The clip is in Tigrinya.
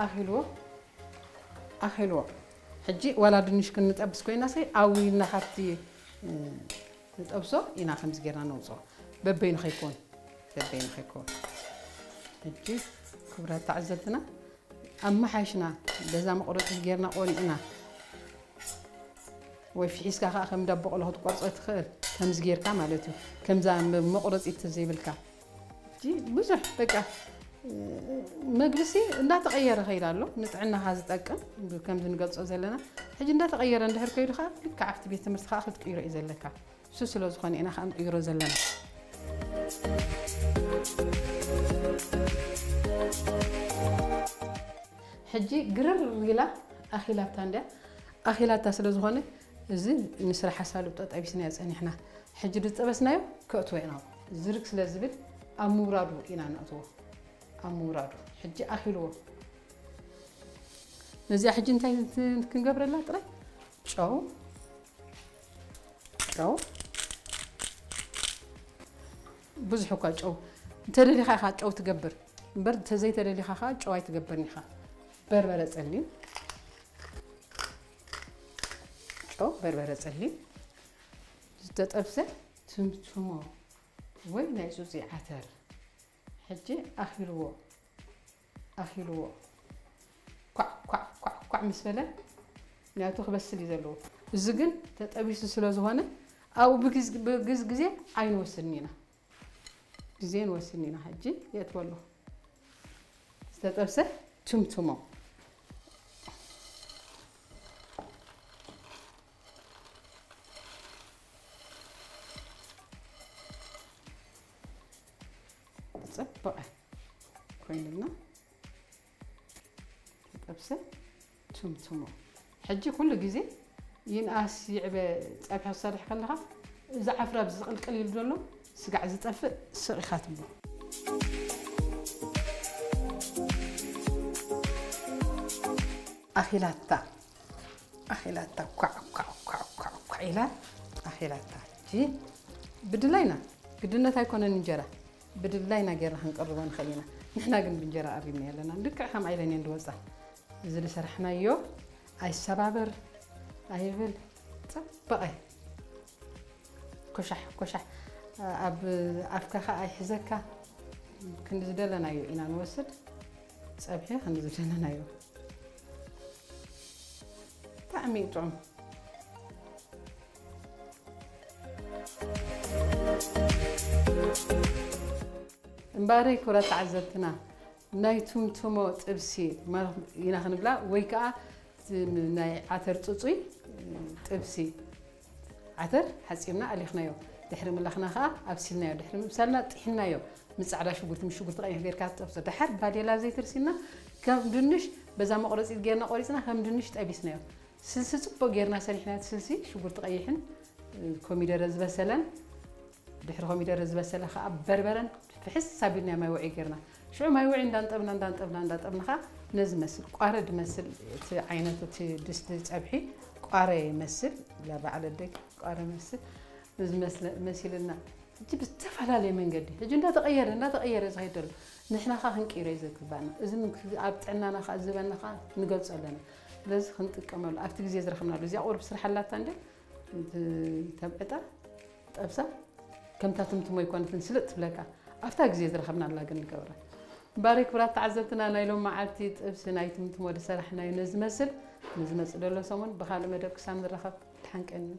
ኣኺልዎ ኣኺልዎ። ሕጂ ዋላ ድንሽ ክንጠብስ ኮይና ሰይ ኣዊልና ካብቲ ንጠብሶ ኢና ከምዚ ጌርና ነውፅኦ። በበይኑ ከይኮን በበይኑ ከይኮን። ሕጂ ክብራት ተዓዘብትና ኣመሓይሽና በዛ መቑረፂት ጌርና ቆኒዕና ወይ ፊሒስካ ከዓ ከም ዳቦ ቆሎ ክትቆርፆ ትኽእል። ከምዚ ጌርካ ማለት እዩ። ከምዛ መቑረፂት ዘይብልካ ብዙሕ በቃ መግብሲ እንዳተቐየረ ከይድ ኣሎ። ንጥዕናኻ ዝጠቅም ከምዚ ንገልጾ ዘለና ሕጂ እንዳተቐየረ እንድሕር ከይዱ ከዓ ልክዕ ኣብቲ ቤት ትምህርቲ ከዓ ክትቅይሮ እዩ ዘለካ። እሱ ስለ ዝኾነ ኢና ከዓ ንቅይሮ ዘለና። ሕጂ ግርር ኢላ ኣኺላታ እንድያ። ኣኺላታ ስለ ዝኾነ እዚ ንስራሕ ኣሳልጦ ጠቢስናዮ ጸኒሕና። ሕጂ ዝጠበስናዮ ከእትዎ ኢና። ዝርግ ስለ ዝብል ኣብ ምውራዱ ኢና ነእትዎ። ኣብ ምውራዱ። ሕጂ ኣኺልዎ። ነዚኣ ሕጂ እንታይ ክንገብረላ ጥራይ? ጨው። ጨው። ብዙሕ እኳ ጨው እንተደሊኻ ኢኻ ጨው ትገብር እምበር እንተዘይተደሊኻ ኸዓ ጨው ኣይትገብርን ኢኻ። በርበረ ጸሊም። ጨው፣ በርበረ ጸሊም። ዝተጠብሰ ትምትሞ ወይ ናይ ጹጺ ዓተር። ሕጂ ኣኺልዎ። ኣኺልዎ። ኳዕ፣ ኳዕ፣ ኳዕ፣ ኳዕ ምስ በለ፣ ምኽንያቱ ክበስል እዩ ዘለዎ። እዚ ግን ተጠቢሱ ስለ ዝኾነ፣ ኣብኡ ብግዝ-፣ ብግዝ ግዜ ኣይንወስድን ኢና። ግዜ ንወስድን ኢና። ሕጂ የእትወሉ። ዝተጠብሰ ትምትሞ። ጽቡቕ ኮይኑልና ተጠብሰ ትምትሞ። ሕጂ ኩሉ ግዜ ይንኣስ ይዕበ ጸብሒ ክሰርሕ ከለኻ፣ እዚ ዓፍራ ኣብዚ ዝቕልቅል ኢሉ ዘሎ ስጋዕ ዝጠፍእ ስቕ ኢኻ ትብሎ። ኣኺላታ፣ ኣኺላታ፣ ኳዕ፣ ኳዕ፣ ኳዕ፣ ኳዕ፣ ኳዕ ኢላ ኣኺላታ። ሕጂ ብድላይና፣ ግድነት ኣይኮነን እንጀራ፣ ብድላይና ጌርና ክንቅርቦ ንኽእል ኢና። ንሕና ግን ብእንጀራ ኣብይና ኣለና። ልክዕ ከም ኣይለን እየን ዝወጻ። እዚ ዝሰራሕናዮ ኣይሰባበር፣ ኣይብል፣ ጽበቐ። ኮሻሕ፣ ኮሻሕ፣ ኣብ ኣፍካ ኸኣ ኣይሕዘካ። ክንዲ ዝደለናዮ ኢና ንወስድ። ጸብሒ ክንዲ ዝደለናዮ። ብጣዕሚ እዩ ጥዑም። እምበኣረይ ክብራት ተዓዘብትና፣ ናይ ቱምቱሞ ጥብሲ ማለት ኢና ክንብላ፣ ወይ ከኣ እቲ ናይ ዓተር ጽጹይ ጥብሲ። ዓተር ሓጺብና ኣሊኽናዮ። ድሕሪ ምልኻና ከኣ ኣብሲልናዮ። ድሕሪ ምብሳልና ጥሒንናዮ። ምስ ጻዕዳ ሽጉርቲ፣ ምስ ሽጉርቲ ቀይሕ ጌርካ ትጠብሶ። ደሓር ባዴላ ዘይተርሲና ከም ድንሽ በዛ መቑረጺት ጌርና ቆሪጽና ከም ድንሽ ጠቢስናዮ። ስልሲ ጽቡቕ ጌርና ሰሪሕና፣ እቲ ስልሲ ሽጉርቲ ቀይሕን ኮሚደረ ዝበሰለን፣ ድሕሪ ኮሚደረ ዝበሰለ ከኣ በርበረን ፍሕስ ኣቢልና ማይ ውዑይ ጌርና። ሽዑ ማይ ውዑይ እንዳንጠብና፣ እንዳንጠብና፣ እንዳንጠብና ከኣ ነዚ መስል ቋረ ድመስል፣ እቲ ዓይነት እቲ ድስቲ ጸብሒ ቋረ ይመስል፣ ለባዕለ ደቂ ቋረ መስል፣ እዚ መስለ-፣ መሲልና። ሕጂ ብዝተፈላለየ መንገዲ፣ ሕጂ እንዳተቐየረ፣ እንዳተቐየረ ዝኸይድ ዘሎ። ንሕና ከኣ ክንቅይሮ እዩ ዘግባእና። እዚ ን-፣ ኣብ ጥዕናና ከኣ ዝህበና ከኣ ንገልጾ ኣለና። ስለዚ ክንጥቀመሉ፣ ኣብቲ ግዜ ዝረኸብናሉ። እዚኣ ቁሩብ ስራሕ ኣላታ እንደ፣ ተብዕጣ፣ ጠብሳ፣ ከምታ ትምትሞ ኣይኮነትን ስልጥ ትብለካ። ኣብታ ግዜ ዝረኸብናላ ግን ንገብራ። እምበኣር ክቡራት ተዓዘብትና፣ ናይ ሎም መዓልቲ ጥብሲ ናይ ትምትሞ ዝሰራሕናዮ ነዚ መስል። ንዝመጽእ ዘሎ ሰሙን ብኻልእ መደብ ክሳብ ንራኸብ፣ ድሓን ቀንዩ።